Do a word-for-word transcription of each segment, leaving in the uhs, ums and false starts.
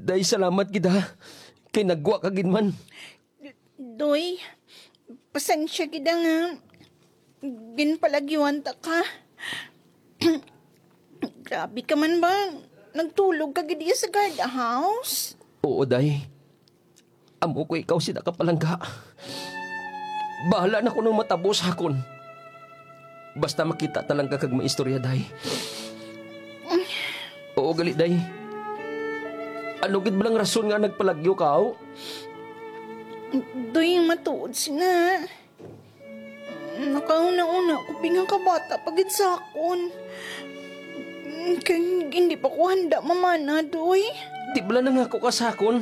Day, salamat gid, ha. Kay nagwa ka gid man. Doy, pasensya gid nga ginpalagyuan ta ka. Grabe ka man ba? Nagtulog ka gid sa guard house? Oo, day. Amo ko ikaw sina kapalangga. Bahala na kuno matabo sa akon. Basta makita ta lang ka kag maistorya, day. Oo, gali, day. Ano gid ba lang rason nga nagpalagyo ka, aw? Doy, matuod sina. Nakahuna-una ko, binga ka bata pa gid sa akon. Kay hindi pa ko handa mamana, Doy. Di bala nangako ka sa akon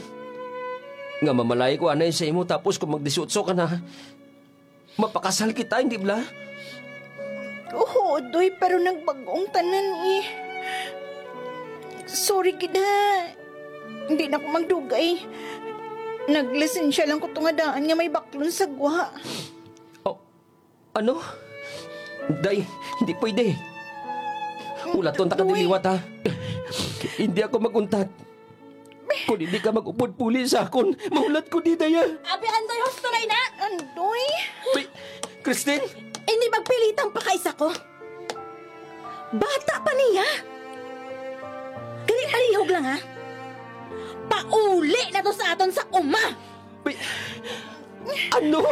nga mamalay ko anay sa imo, tapos kung mag-disiotso ka na, mapakasal kita, hindi bala? Oo, Doy, pero nagbag-ong tanan, eh. Sorry gid, ha. Hindi na ko magdugay. Naglisensya lang ko tunga daan nga may baklon sa gwa. Oh, ano? Day, hindi pwede. Ulaton ta ka Doy. Diliwat, ha? Hindi ako mag-untat. Kung hindi ka mag-upod puli sa akon, mahulat ko di, day, ha? Abi, Andoy, husto na ina! Andoy! Pi-, Christine? Hindi magpilitang pakaisa ko. Bata pa niya. Gali, palihog lang, ha? Pauli na to sa aton sa uma! Pi-, ano?